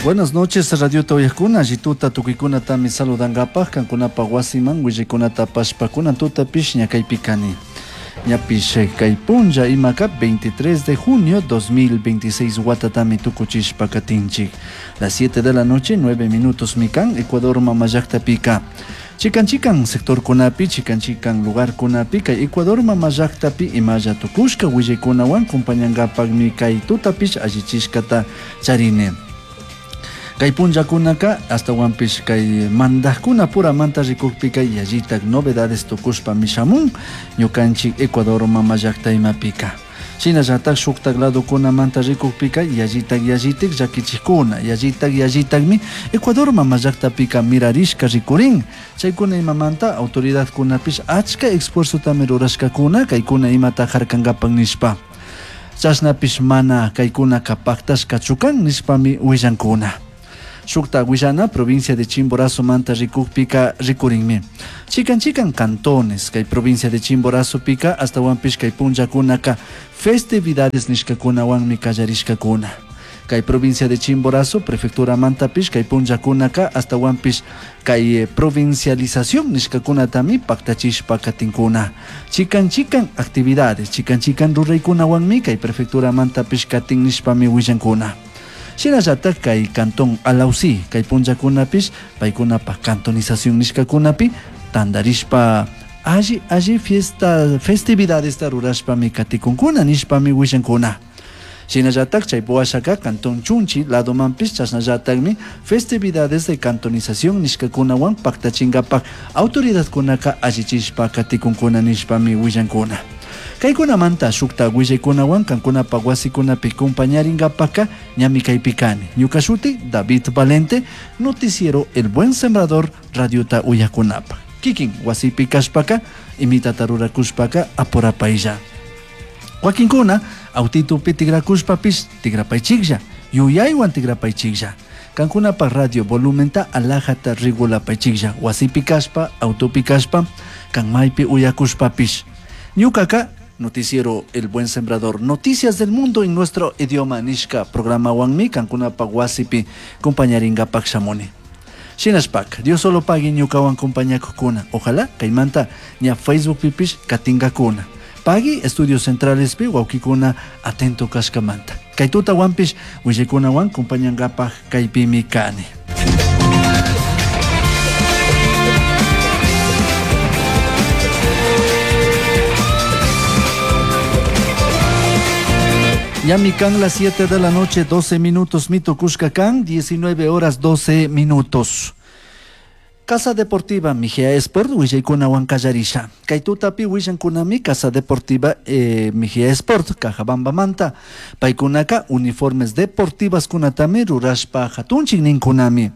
Buenas noches, Radio Uyajkuna, allituta tukuykunatami saludangapaj, kankunapa wasiman willaykunata apashpa kunan tutapish ñakaypi kani. Ñapish kay punlla imaka 23 de junio 2026 watatami tukuchishpa katinchik. Las 7 de la noche, 9 minutos mikan, Ecuador mamallakta Chikan chikan sectorkunapi, chikan chikan lugarkunapi, kay Ecuador mamallaktapi imalla tukushka willaykunawan compañangapakmi kay tutapish allichishkata charini. Kay punllakunaka astawanpish kay mandajkuna puramanta rikukpika yallitak novedades tukushpami shamun ñukanchik Ecuador mamallakta imapika. Shinallatak shuktak ladokunamanta rikukpika yallitak yallitik llakichikkuna, yallitak yallitakmi Ecuador mamallaktapika mirarishka rikurin. Chaykuna imamanta autoridadkunapish achka esfuerzotami rurashkakuna kaykuna imata harkankapak nishpa. Chashnapish mana kaykunaka paktashkachu kan nishpami willankuna. Shukta willana provincia de Chimborazo manta rikukpika rikurinmi. Chikan chikan cantones kay provincia de Chimborazo pika astawanpish kay punllakunaka festividades nishkakunawanmi kallarishkakuna. Kay provincia de Chimborazo prefectura mantapish kay punllakunaka astawanpish kay provincialización nishkakunatami paktachishpa katinkuna. Chikan chikan actividades, chikan chikan ruraykunawanmi kay prefectura mantapish katin nishpami willankuna. Shinallatak kay cantón Alausí, kay punllakunapish paykunapa cantonización nishkakunapi tandarishpa alli alli fiesta festividadesta rurashpami katikunkuna nishpami willankuna. Shinallatak chay washaka cantón Chunchi ladomanpish chashnallatakmi festividades de cantonización nishkakunawan paktachinkapak autoridadkunaka allichishpa katikunkuna nishpami willankuna. Kaykunamanta shukta willaykunawan kankunapa wasikunapi compañarinkapaka ñami kaypi kani. Ñuka shuti David Valente, noticiero El Buen Sembrador, radiota uyakunapa. Kikin wasipi kashpaka, imitata rurakushpaka apurapaylla. Wakinkuna autitupi tigrakushpapish tigrapaychiklla, yuyaywan tigrapaychiklla. Kankunapa radio volumenta alajata regulapaychiklla, wasipi kashpa, autopi kashpa, kan maypi uyakushpapish. Ñukaka noticiero El Buen Sembrador, noticias del mundo en nuestro idioma nishka programa wanmi kankunapa wasipi compañarinkapak shamuni. Shinashpak, Dios solo pagui ñukawan compañakukuna. Ojalá kaymanta ña Facebook pipish katinkakuna. Pagui estudios centrales pi wawkikuna atento kashkamanta. Kay tutawanpish willaykunawan compañankapak kaypimi kani. Ñami kan las 7 de la noche, 12 minutos, mito Cuscacán, 19 horas 12 minutos. Casa Deportiva Mejía Sport, willaykunawan kallarisha. Kay tutapi willankunami Casa Deportiva Mejía Sport, Cajabambamanta. Paykunaka uniformes deportivas kunatami rurashpa hatunchik ninkunami.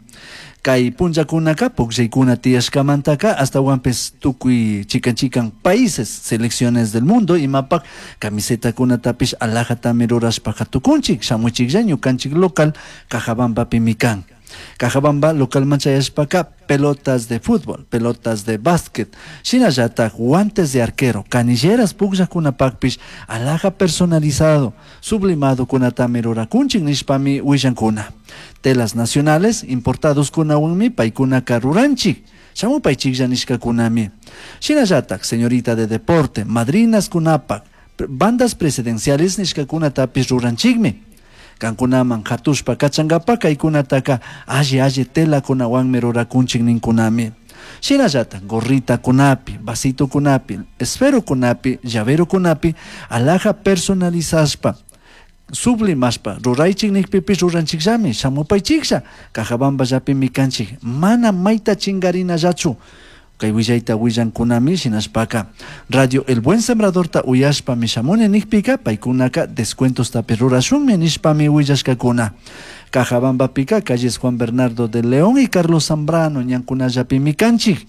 Kay punllakunaka pukllaykuna tiyashkamantaka astawanpis tukuy chikan chikan países, selecciones del mundo imapak camisetakunatapish alajatami rurashpa hatukunchik, shamuchiklla ñukanchik local Cajabambapimi kan. Cajabamba localman chayashpaka pelotas de fútbol, pelotas de básquet, shinallatak guantes de arquero, canilleras pukllakunapakpish alhaja personalizado, sublimado kunatami rurakunchik nishpami willankuna. Telas nacionales importados kunawanmi paykunaka ruranchik, shamupaychiklla nishkakunami. Shinallatak señorita de deporte, madrinas kunapak, bandas presidenciales nishkakunatapish ruranchikmi. Kankunaman hatushpa kachankapak kaykunataka alli alli telakunawanmi rurakunchik ninkunami. Shinallatak gorritakunapi, vasitokunapi, esferokunapi, llaverokunapi alhaja personalizashpa sublimashpa ruraychik nikpipish ruranchikllami, shamupaychiklla, Cajabamballapimi kanchik, mana mayta chingarinallachu. Kay willayta willankunami shinashpaka Radio El Buen Sembradorta uyashpami shamuni nikpika paykunaka descuentostapi rurashunmi nishpami willashkakuna. Cajabambapika calles Juan Bernardo de León y Carlos Zambrano ñankunallapimi kanchik.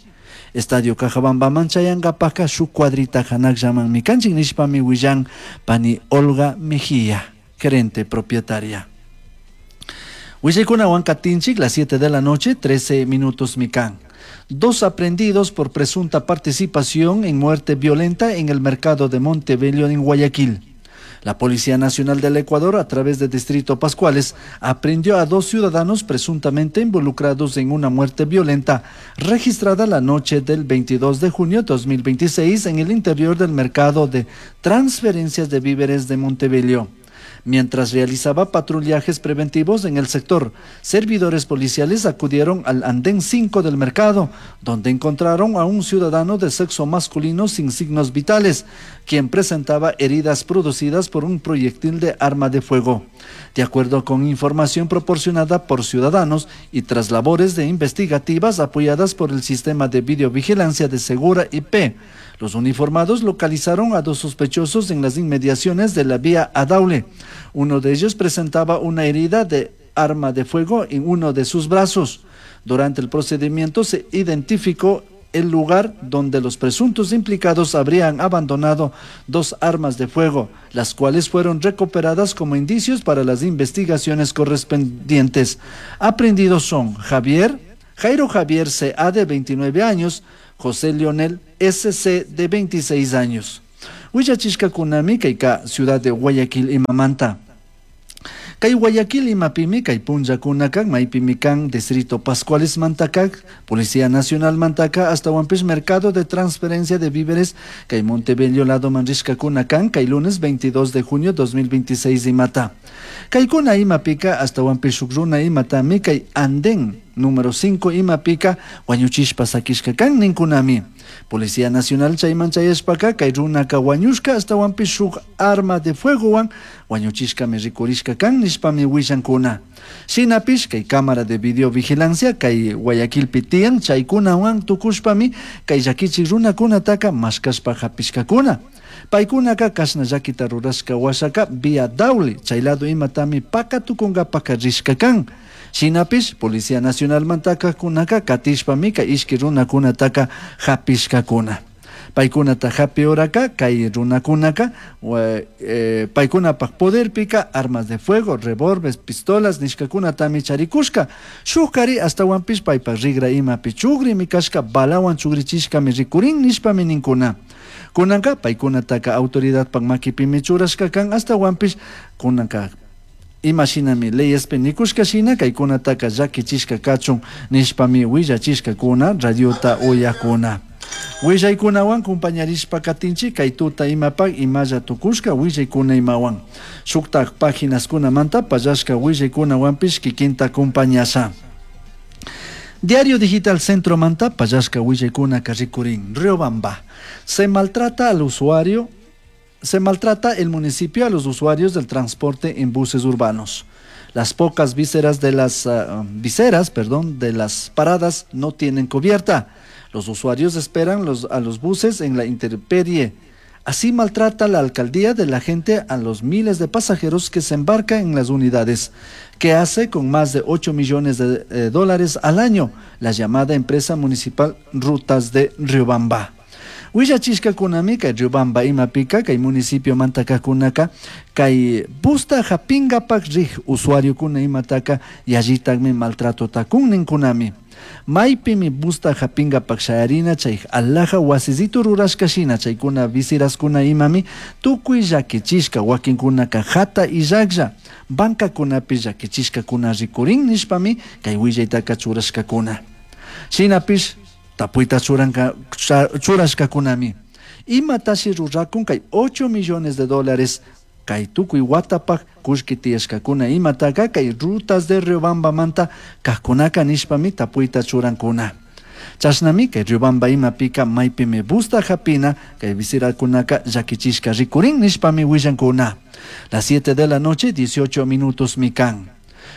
Estadio Cajabambaman chayankapaka shuk cuadrita hanakllamanmi kanchik nishpami willan pani Olga Mejía, gerente propietaria. Willaykunawan katinchik las 7 de la noche, 13 minutos mikan. 2 aprehendidos por presunta participación en muerte violenta en el mercado de Montebello en Guayaquil. La Policía Nacional del Ecuador, a través de Distrito Pascuales, aprehendió a 2 ciudadanos presuntamente involucrados en una muerte violenta registrada la noche del 22 de junio de 2026 en el interior del mercado de transferencias de víveres de Montebello. Mientras realizaba patrullajes preventivos en el sector, servidores policiales acudieron al andén 5 del mercado, donde encontraron a un ciudadano de sexo masculino sin signos vitales, quien presentaba heridas producidas por un proyectil de arma de fuego. De acuerdo con información proporcionada por ciudadanos y tras labores de investigativas apoyadas por el sistema de videovigilancia de Segura IP, los uniformados localizaron a 2 sospechosos en las inmediaciones de la vía Adaule. Uno de ellos presentaba una herida de arma de fuego en uno de sus brazos. Durante el procedimiento se identificó el lugar donde los presuntos implicados habrían abandonado 2 armas de fuego, las cuales fueron recuperadas como indicios para las investigaciones correspondientes. Aprehendidos son Jairo Javier C.A. de 29 años, José Leonel S.C. de 26 años. Huillachishka kunami kayka ciudad de Guayaquil imamanta. Kay Guayaquil imapimi kay punllakunaka maypimi kan distrito Pascuales mantakak, Policía Nacional mantaka hasta Huampis mercado de transferencia de víveres kay Montebello lado manrishka kunakan kay lunes 22 de junio 2026 imata. Kay kuna imapika hasta Huampis shukruna imatami kay andén número 5 imapika wañuchishpa sakishka kan ninkunami. Policía Nacional chayman chayashpaka kay runaka wañushka hasta Huampis shuk arma de fuego wan wañuchishkami rikurishka kan nishpami willankuna. Shinapish kay cámara de videovigilancia kay Guayaquilpi tiyan chaykunawan tukushpami kay llakichik runakunataka mashkashpa hapishkakuna. Paykunaka kashna llakita rurashka washaka vía Daule chay lado imatami pakatukunkapaka rishka kan. Shinapish Policía Nacional mantaka kunaka katishpami kay ishki runakunataka hapishkakuna. Paykunata hapi oraka kay runakunaka, paykunapak poderpika armas de fuego, revólveres, pistolas nishkakunatami charikushka. Shuk kari astawanpish paypak rigra imapi chugrimi kashka balawan chugrichishkami rikurin nishpami ninkuna. Kunanka paykunataka autoridadpak makipimi churashka kan astawanpish kunanka imashinami leyespi nikushka shina kaykunataka llakichishka kachun nishpami willachishkakuna radiota uyakuna. Willaykunawan kumpañarishpa katinchik kay tuta imapak imalla tukushka willaykuna imawan. Shuktak páginaskunamanta pallashka willaykunawanpish kikinta kumpañasha. Diario Digital Centro manta pallashka willaykuna karrikurin. Riobamba. Se maltrata al usuario. Se maltrata el municipio a los usuarios del transporte en buses urbanos. Las pocas viseras de las, viseras, perdón, de las paradas no tienen cubierta. Los usuarios esperan a los buses en la intemperie. Así maltrata la alcaldía de la gente a los miles de pasajeros que se embarcan en las unidades, que hace con más de 8 millones de dólares al año la llamada empresa municipal Rutas de Riobamba. Willachishka kunami kay Riobamba imapika kay municipio mantakakunaka kay busta japingapak rij usuario kuna imataka yallitakmi maltrato takun ninkunami. Maypimi busta japingapak shayarina chay alaja wasizito rurashka shina chaykuna visiraskuna imami tukuy llakichishka wakinkunaka hata illaklla bankakunapi llakichishkakuna rikurin nishpami kay willaytaka churashkakuna. Shinapish tapuyta churashkakunami. Imatashi rurakun kay 8 millones de dólares kay tukuy watapak kullki tiyashkakuna imataka kay rutas de Riobamba manta kajkunaka nishpami tapuyta churankuna. Chashnami kay Riobamba imapika maypimi busta japina kay visirakunaka llakichishka rikurin nishpami willankuna. Las 7 de la noche 18 minutos mikan.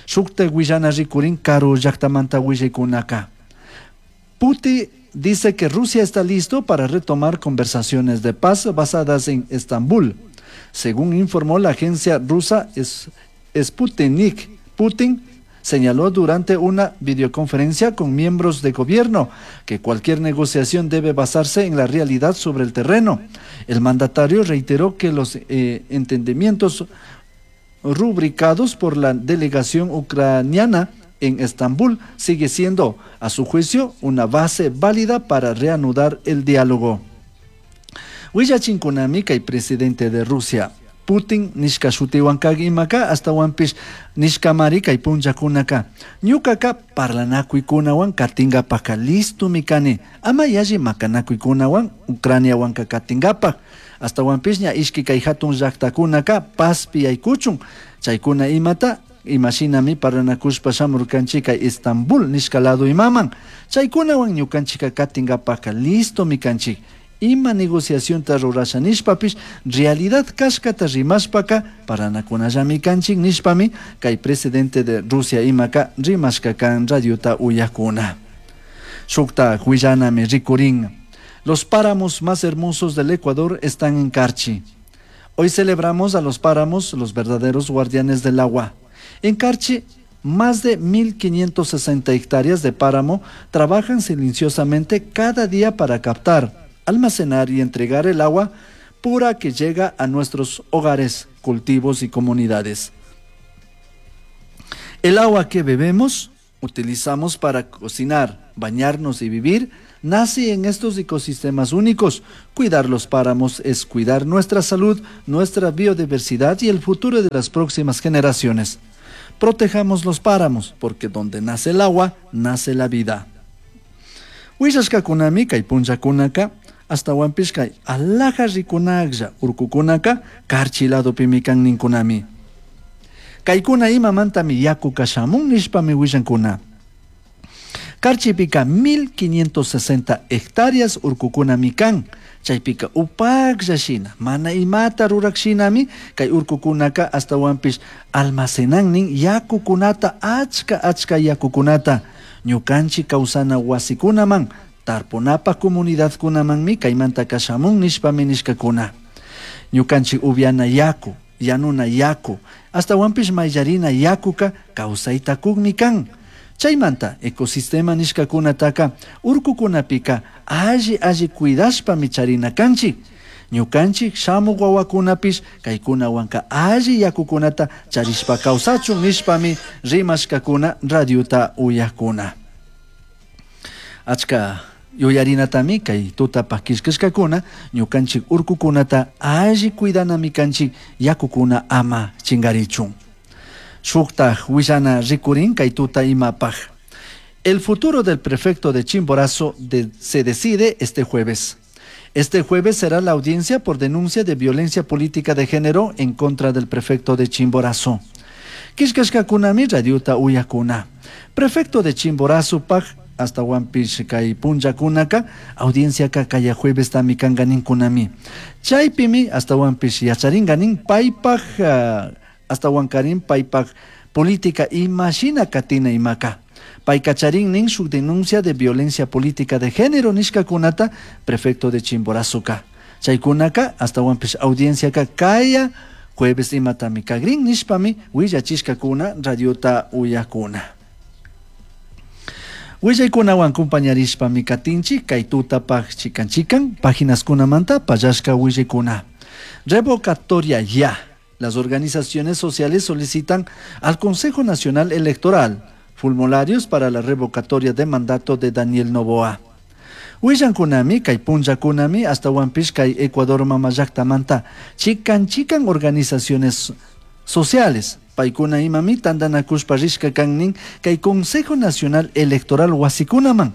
Shukta willana rikurin karu llaktamanta willaykunaka. Putin dice que Rusia está listo para retomar conversaciones de paz basadas en Estambul. Según informó la agencia rusa Sputnik, Putin señaló durante una videoconferencia con miembros de gobierno que cualquier negociación debe basarse en la realidad sobre el terreno. El mandatario reiteró que los entendimientos rubricados por la delegación ucraniana en Estambul sigue siendo, a su juicio, una base válida para reanudar el diálogo. Willachinkunami kay presidente de Rusia, Putin nishka shutiwan kak imaka ashtawanpish nishkamari kay punllakunaka ñukaka parlanakuykunawan katingapaka listomi kani ama yalli makanakuykunawan Ucraniawanka katingapak ashtawanpish ña ishki kay hatun llaktakunaka pazpi yaykuchun chaykuna imata imashinami parlanakushpa shamurkanchik kay Estambul nishka lado imaman chaykunawan ñukanchikka katingapaka listomi kanchik ima negociacionta rurasha nishpapish realidad kashkata rimashpaka paranakunallami kanchik nishpami kay presidente de Rusia imaka rimashka kan radiota uyakuna. Shukta willanami rikurin. Los páramos más hermosos del Ecuador están en Carchi. Hoy celebramos a los páramos, los verdaderos guardianes del agua. En Carchi, más de 1.560 hectáreas de páramo trabajan silenciosamente cada día para captar, almacenar y entregar el agua pura que llega a nuestros hogares, cultivos y comunidades. El agua que bebemos, utilizamos para cocinar, bañarnos y vivir, nace en estos ecosistemas únicos. Cuidar los páramos es cuidar nuestra salud, nuestra biodiversidad y el futuro de las próximas generaciones. Protejamos los páramos, porque donde nace el agua, nace la vida. Willashkakunami kay punllakunaka ashtawanpish kay alaja rikunaklla urkukunaka Carchi ladopimi kan ninkunami. Kaykuna imamantami yakuka shamun nishpami willankuna. Carchipika 1560 hectáreas urkukunami kan. Chaypika upaklla shina, mana imata rurak shinami, kay urkukunaka ashtawanpish almacenannin yakukunata achka achka yakukunata. Ñukanchik kawsana wasikunaman, tarpunapaj comunidadkunamanmi kaymantaka shamun nishpami nishkakuna. Ñukanchik upiana yaku, yanuna yaku, ashtawanpish mayllarina yakuka kawsayta kukmi kan. Chaymanta ecosistema nishkakunataka urkukunapika alli alli cuidashpami charina kanchik. Ñukanchik shamuk wawakunapish kaykunawanka alli yakukunata charishpa kawsachun nishpami rimashkakuna radiota uyakuna. Achka yuyarinatami kay tutapaj killkashkakuna ñukanchik urkukunata alli cuidanami kanchik yakukuna ama chingarichun. Shuktaj willana rikurin kay tuta imapaj. El futuro del prefecto de Chimborazo se decide este jueves. Este jueves será la audiencia por denuncia de violencia política de género en contra del prefecto de Chimborazo. Killkashkakunami radiota uyakuna. Prefecto de Chimborazo paj ashtawanpish kay punllakunaka audienciaka kaya jueves tami kanka ninkunami. Chaypimi ashtawanpish yacharinka nin paypaj ashtawankarin paypaj política imashina katina imaka. Payka charin nin shuk denuncia de violencia política de género nishkakunata prefecto de Chimborazoka. Chaykunaka ashtawanpish audienciaka kaya jueves imatami kagrin nishpami willachishkakuna radiota uyakuna. Willaykunawan compañarishpami katinchik kay tutapaj chikan chikan páginaskunamanta pallashka willaykuna. Revocatoria ya. Las organizaciones sociales solicitan al Consejo Nacional Electoral formularios para la revocatoria de mandato de Daniel Noboa. Willankunami kay punllakunami ashtawanpish kay Ecuador mama llaktamanta chikan chikan organizaciones sociales paykuna imami tantanakushpa rishka kan kay Consejo Nacional Electoral wasikunaman.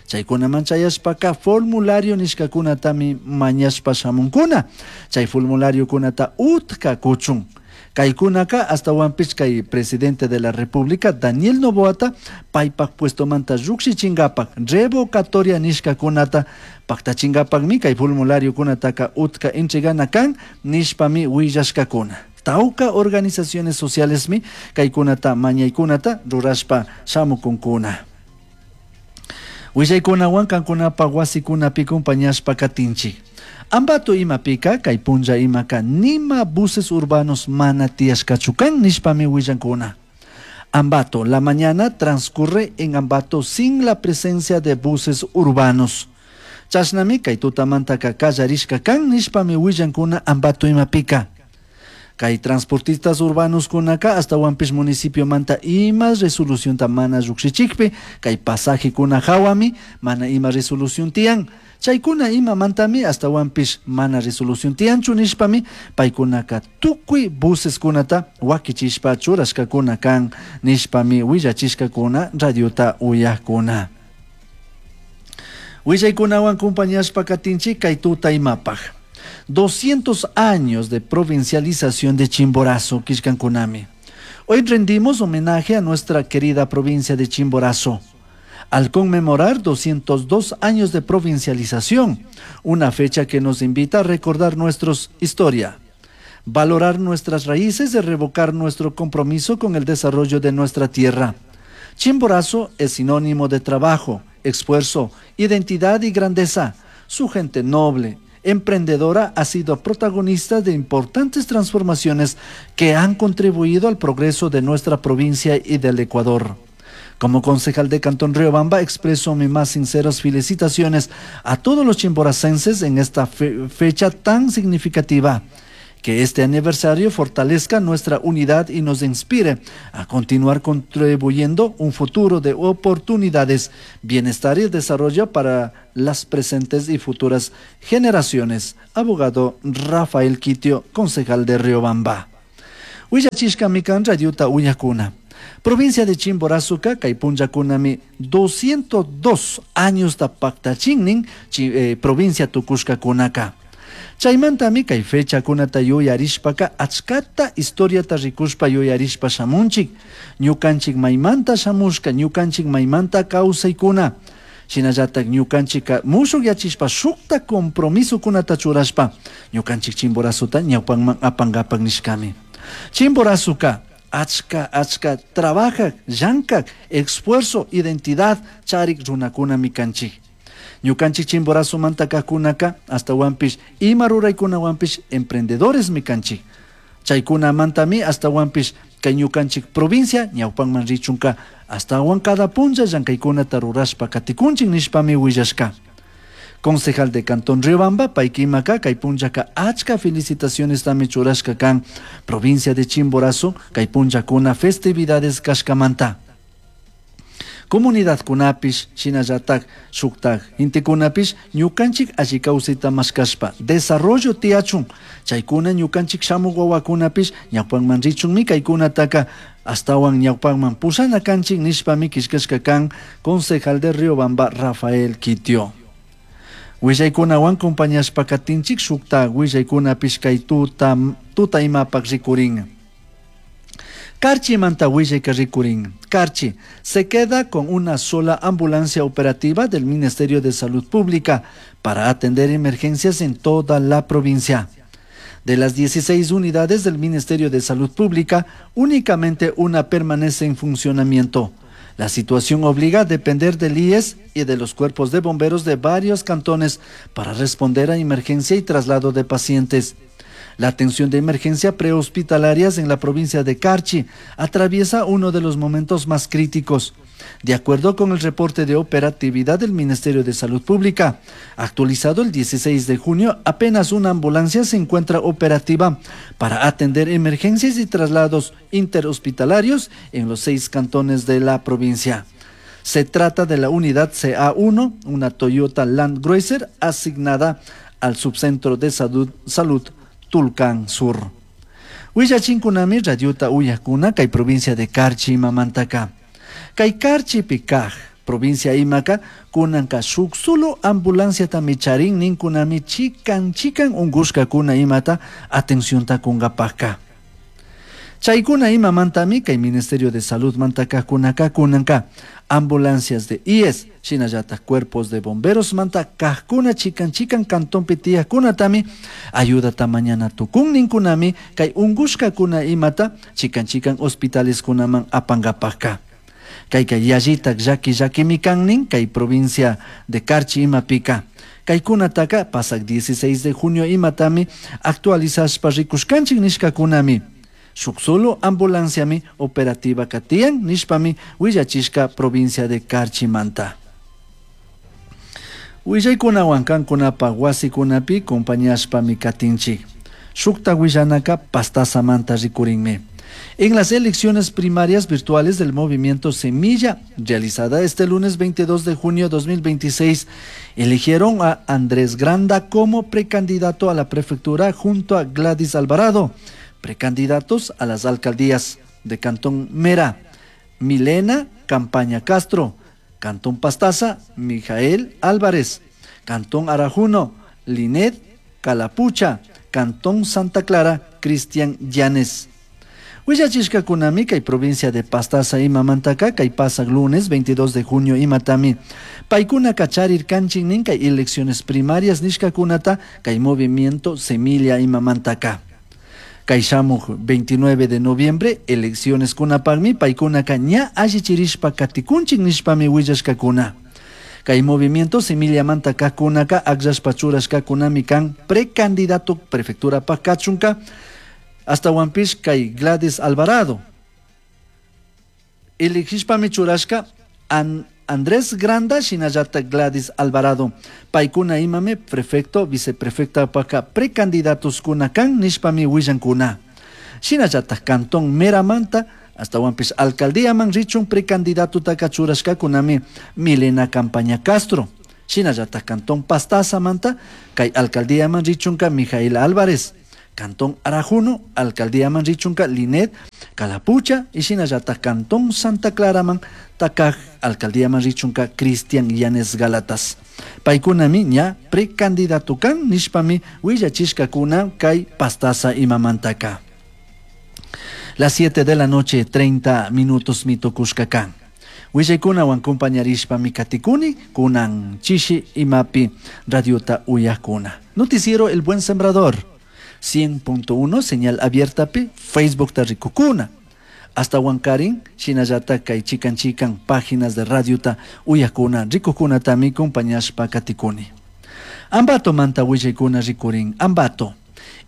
Chaykunaman chayashpaka formulario nishkakunatami mañashpa shamunkuna. Chay formulariokunata utka kuchun. Kaykunaka ashtawanpish kay presidente de la República Daniel Noboata paypak puestomanta llukshichinkapaj revocatoria nishkakunata paktachingapakmi kay formulariokunataka utka entregana kan nishpami willashkakuna. Tawka organizaciones socialesmi kaykunata mañaykunata rurashpa shamukunkuna. Willaykunawan kankunapaj wasikunapi compañashpa katinchik. Ambato imapika kay punlla imaka nima buses urbanos mana tiyashkachu kan nishpami willankuna. Ambato, la mañana transcurre en Ambato sin la presencia de buses urbanos. Chashnami kay tutamantaka kallarishka kan nishpami willankuna Ambato imapika. Kay transportistas urbanos kunaka ashtawanpish municipio manta ima resolución ta mana llukshichikpi kay pasaje kuna hawami mana ima resolución tiyan. Chaykuna imamantami ashtawanpish mana resolución tiyanchu nishpami paykunaka tukuy buseskunata wakichishpa churashkakuna kan nishpami willachishkakuna radiota uyakuna. Willaykunawan compañashpa katinchik kay tuta imapaj. 200 años de provincialización de Chimborazo, killkankunami. Hoy rendimos homenaje a nuestra querida provincia de Chimborazo al conmemorar 202 años de provincialización, una fecha que nos invita a recordar nuestra historia, valorar nuestras raíces y revocar nuestro compromiso con el desarrollo de nuestra tierra. Chimborazo es sinónimo de trabajo, esfuerzo, identidad y grandeza. Su gente noble, emprendedora ha sido protagonista de importantes transformaciones que han contribuido al progreso de nuestra provincia y del Ecuador. Como concejal de Cantón Riobamba, expreso mis más sinceras felicitaciones a todos los chimboracenses en esta fecha tan significativa. Que este aniversario fortalezca nuestra unidad y nos inspire a continuar contribuyendo un futuro de oportunidades, bienestar y desarrollo para las presentes y futuras generaciones. Abogado Rafael Quitio, concejal de Riobamba. Willachishkami kan radiota uyakuna. Provincia de Chimborazoka, kay punllakunami 202 años ta paktachinnin provincia tukushkakunaka. Chaymantami kay fechakunata yuyarishpaka achkata historiata rikushpa yuyarishpa shamunchik. Ñukanchik maymanta shamushka, ñukanchik maymanta kawsaykuna. Shinallatak ñukanchika mushukyachishpa shukta compromisokunata churashpa ñukanchik Chimborazota ñawpanman apankapak nishkami. Chimborazoka achka achka trabajak, llankak, esfuerzo, identidad charik runakunami kanchik. Ñukanchik Chimborazomanta kajkunaka ashtawanpish ima ruraykunawanpish emprendedores mi kanchik. Chaykunamantami ashtawanpish kay ñukanchik provincia ñawpanman richunka ashtawan cada punlla llankaykunata rurashpa katikunchik nishpami willashka. Concejal de Cantón Riobamba, paykimaka kay punllaka achka felicitaciones tami churashka kan provincia de Chimborazo kay punllakuna festividades kashkamanta. Comunidad kunapish, shinallatak shuktak intikunapish ñukanchik alli kawsayta mashkashpa desarrollo tiyachun chaykuna ñukanchik shamuk wawakunapish ñawpanman richunmi kaykunataka ashtawan ñawpanman pushana kanchik nishpami killkashka kan concejal de Riobamba Rafael Quitio. Willaykunawan compañashpa katinchik shukta willaykunapish kay tuta tuta imapak rikurin. Carchi manta willayka rikurin. Carchi se queda con una sola ambulancia operativa del Ministerio de Salud Pública para atender emergencias en toda la provincia. De las 16 unidades del Ministerio de Salud Pública, únicamente una permanece en funcionamiento. La situación obliga a depender del IES y de los cuerpos de bomberos de varios cantones para responder a emergencia y traslado de pacientes. La atención de emergencia prehospitalarias en la provincia de Carchi atraviesa uno de los momentos más críticos. De acuerdo con el reporte de operatividad del Ministerio de Salud Pública, actualizado el 16 de junio, apenas una ambulancia se encuentra operativa para atender emergencias y traslados interhospitalarios en los 6 cantones de la provincia. Se trata de la unidad CA1, una Toyota Land Cruiser asignada al subcentro de Salud Tulcán Sur. Willachinkunami radiota uyakuna kay provincia de Carchi imamantaka. Kay Carchipi kaj provincia imaka kunanka shuk solo ambulanciatami charin ninkunami chikan chikan unkushkakuna imata atencionta kunkapakka. Chaykuna imamantami kay Ministerio de Salud mantaka kunaka kunanka ambulancias de IES, shinallatak cuerpos de bomberos manta kajkuna chikan chikan cantonpi tiyakkunatami ayudata mañana tukun ninkunami kay unkushkakuna imata chikan chikan hospitales kunaman apankapakka. Kayka yallitak llaki llakimi kan nin kay provincia de Carchi imapika. Kaykunataka pasak 16 de junio imatami actualizashpa rikushkanchik nishkakunami. Shuk solo ambulanciami operativa katiyan nishpami willachishka provincia de Carchimanta. Willaykunawan kankunapa wasikunapi compañashpami katinchik. Shukta willanaka Pastaza manta rikurinmi. En las elecciones primarias virtuales del movimiento Semilla, realizada este lunes 22 de junio de 2026, eligieron a Andrés Granda como precandidato a la prefectura junto a Gladys Alvarado, precandidatos a las alcaldías de Cantón Mera, Milena Campaña Castro, Cantón Pastaza, Mijael Álvarez, Cantón Arajuno, Linet Calapucha, Cantón Santa Clara, Cristian Llanes. Willachishkakunami kay provincia de Pastaza imamantaka kay pasaq lunes 22 de junio imatami. Paykuna kacharirkanchik nin kay elecciones primarias nishkakunata kay movimiento Semilla imamantaka. Kay shamuj 29 de noviembre elecciones kunapaqmi paykunaka ña allichirishpa katikunchik nishpami willashkakuna. Kay movimiento Semillamanta kajkunaka akllashpa churashkakunami kan precandidato prefecturapaq kachunka hasta kay Gladys Alvarado. Elegishpami churashka Andrés Granda shinallata Gladys Alvarado. Paykuna imami prefecto, viceprefecta paka precandidatos kuna kan nishpami willankuna. Shinallata Cantón Meramanta hasta wampis alcaldía man richun precandidato taka churashkakunami Milena Campaña Castro. Shinallata Cantón Pastaza manta kay alcaldía man richunka Mijael Álvarez. Cantón Arajuno, alcaldía man richunka Linet Calapucha y shinallata Cantón Santa Clara man takaj alcaldía man richunka Cristian Llanes Galatas. Paykunami ña precandidato kan nishpami willachishkakuna kay Pastaza imamantaka. Las 7 de la noche, 30 minutos mitukushka kan. Willaykunawan compañarishpami katikuni, kunan chishi imapi radiota uyakuna. Noticiero El Buen Sembrador, 100.1, señal abierta pi, Facebook ta rikukuna. Hasta Huancarín, shinallata kay chikan chikan páginas de radiota uyakuna, rikukuna tami compañashpa katikuni. Ambato manta willaykuna rikurin, Ambato.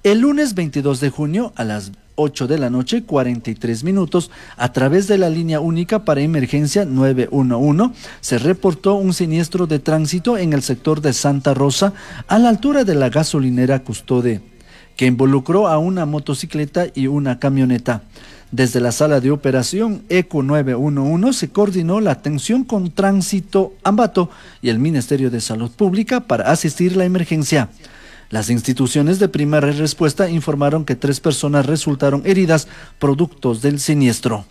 El lunes 22 de junio a las 8 de la noche, 43 minutos, a través de la línea única para emergencia 911, se reportó un siniestro de tránsito en el sector de Santa Rosa, a la altura de la gasolinera Custode, que involucró a una motocicleta y una camioneta. Desde la sala de operación ECO 911 se coordinó la atención con Tránsito Ambato y el Ministerio de Salud Pública para asistir la emergencia. Las instituciones de primera respuesta informaron que 3 personas resultaron heridas productos del siniestro.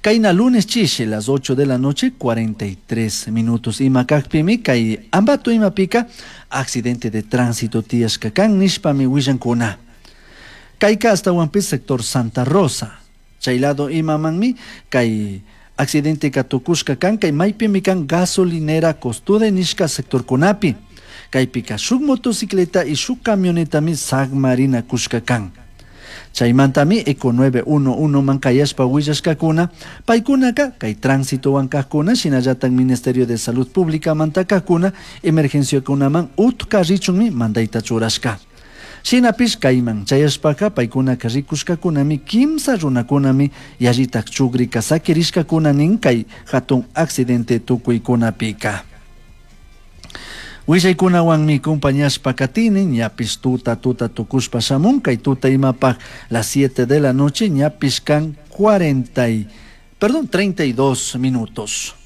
Kaina lunes chiche, las 8 de la noche, 43 minutos. Imakakpimi, kay Ambato imapika, accidente de tránsito tiyashkakan, nishpami willankuna. Kayka hasta Huampis, sector Santa Rosa. Chaylado imamanmi, kay accidente katukushka kan, kay maypimi kan gasolinera costude nishka sector kunapi. Kaypika shuk motocicleta y shuk camionetami sagmarina kushka kan. Chaymantami Eco 911 man kayashpa willashkakuna, paykunaka kay tránsito wankakuna, shinallatan Ministerio de Salud Pública mantakakuna, emergenciakunaman utka richunmi mandayta churashka. Shinapish kayman chayashpaka paykunaka rikushkakunami kimsa runakunami yallitak chugrika sakirishkakuna nin kay hatun accidente tukuykunapika. Willaykunawanmi compañashpa katini, ñapish tuta tuta tukushpa shamun, kay tuta imapaj las 7 de la noche, ñapish kan 32 minutos.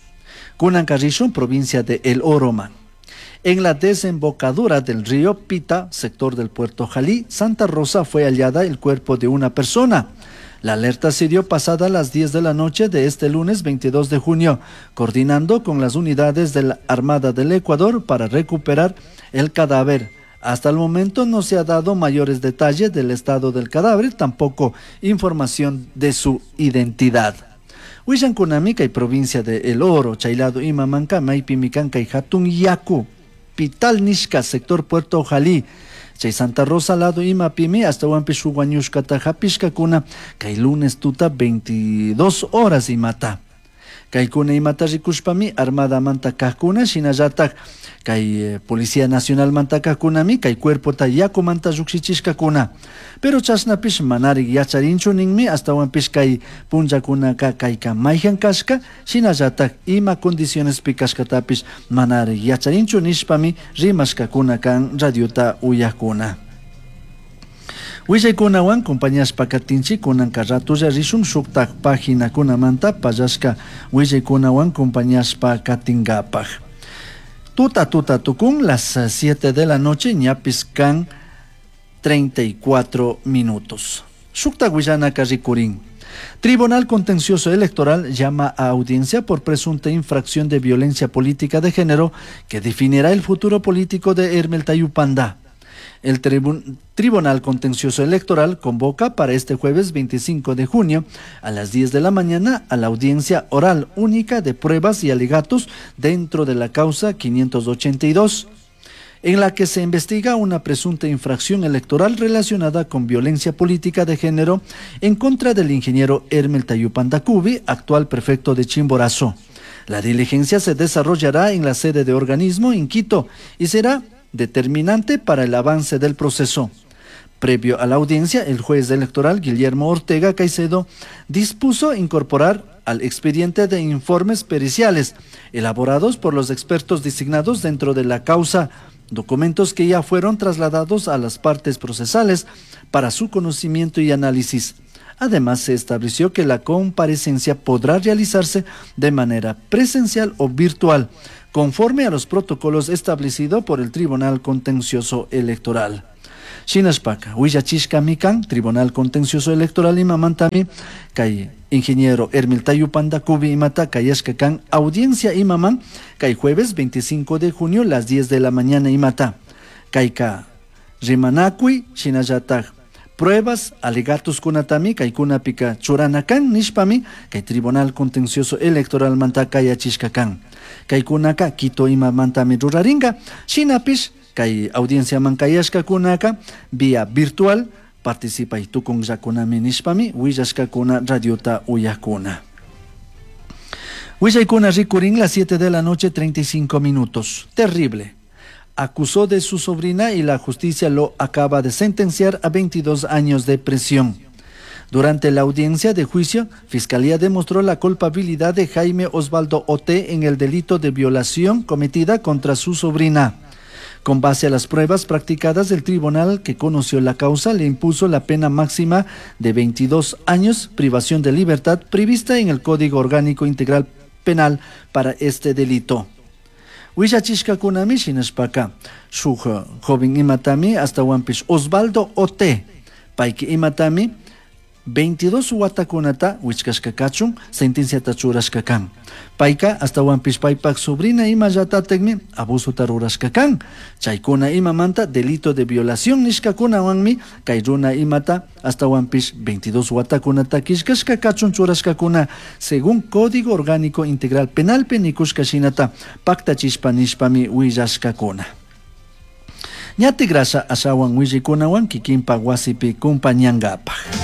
Kunan karrishun, provincia de El Oroman. En la desembocadura del río Pita, sector del puerto Jalí, Santa Rosa, fue hallada el cuerpo de una persona. La alerta se dio pasada las 10 de la noche de este lunes 22 de junio, coordinando con las unidades de la Armada del Ecuador para recuperar el cadáver. Hasta el momento no se ha dado mayores detalles del estado del cadáver, tampoco información de su identidad. Willankunami kay provincia de El Oro, Chaylado imamanka, maypimi kan kay hatun yaku, Pital nishka, sector Puerto Jalí. Chay Santa Rosa lado imapimi hasta huampish wañushkata hapishkakuna kay lunes tuta 22 horas imata. Kaykuna imata rikushpami Armada manta kajkuna shinallatak kay Policía Nacional manta kajkunami kay cuerpota yakumanta llukshichishkakuna. Pero chashnapish manarik yacharinchu ninmi astawanpish kay punllakunaka kayka mayhan kashka shinallatak ima condicionespi kashkatapish manarik yacharinchu nishpami rimashkakuna kan radiota uyakuna. Willaykunawan compañashpa katinchik kunanka ratulla rishun shuktak paginakunamanta pallashka willaykunawan compañashpa katinkapaj. Tuta tuta tukun las 7 de la noche ñapis kan 34 minutos. Shuktak willanaka rikurin. Tribunal Contencioso Electoral llama a audiencia por presunta infracción de violencia política de género que definirá el futuro político de Hermel Tayupanda. El Tribunal Contencioso Electoral convoca para este jueves 25 de junio a las 10 de la mañana a la audiencia oral única de pruebas y alegatos dentro de la causa 582, en la que se investiga una presunta infracción electoral relacionada con violencia política de género en contra del ingeniero Hermel Tayupanda Cubi, actual prefecto de Chimborazo. La diligencia se desarrollará en la sede de organismo en Quito y será determinante para el avance del proceso. Previo a la audiencia, el juez electoral Guillermo Ortega Caicedo dispuso incorporar al expediente de informes periciales elaborados por los expertos designados dentro de la causa, documentos que ya fueron trasladados a las partes procesales para su conocimiento y análisis. Además, se estableció que la comparecencia podrá realizarse de manera presencial o virtual, conforme a los protocolos establecidos por el Tribunal Contencioso Electoral. Shinashpaka, willachishkami kan, Tribunal Contencioso Electoral imamantami, kay ingeniero Hermel Tayupanda Cubi imata kayashka kan, audiencia imaman, kay jueves 25 de junio las 10 de la mañana imata. Kayka rimanakui, shinallatak pruebas, alegatos kunatami, kaykunapika churana kan, nishpami, kay Tribunal Contencioso Electoral manta kayachishka kan. Kaykunaka Quito imamantami ruraringa, shinapish kay audienciaman kayashkakunaka vía virtual participay tukunllakunami nishpami willashkakuna radiota uyakuna. Willaykuna rikurin las 7 de la noche 35 minutos. Terrible. Acusó de su sobrina y la justicia lo acaba de sentenciar a 22 años de prisión. Durante la audiencia de juicio, Fiscalía demostró la culpabilidad de Jaime Osvaldo Ote en el delito de violación cometida contra su sobrina. Con base a las pruebas practicadas, el tribunal que conoció la causa le impuso la pena máxima de 22 años privación de libertad prevista en el Código Orgánico Integral Penal para este delito. Willachishkakunami shinashpaka shuk joven imatami astawanpish Osvaldo Ote payki imatami 22 watakunata wichkashka kachun sentenciata churashka kan. Payka astawanpish paypak sobrina imallatatakmi abusota rurashka kan. Chaykuna imamanta delito de violación nishkakunawanmi kay runa imata astawanpish 22 watakunata killkashka kachun churashkakuna según Código Orgánico Integral Penalpi nikushka shinata paktachishpa nishpami willashkakuna. Ñatigrasha ashawan willikunawan kikinpak wasipi kumpañankapaj.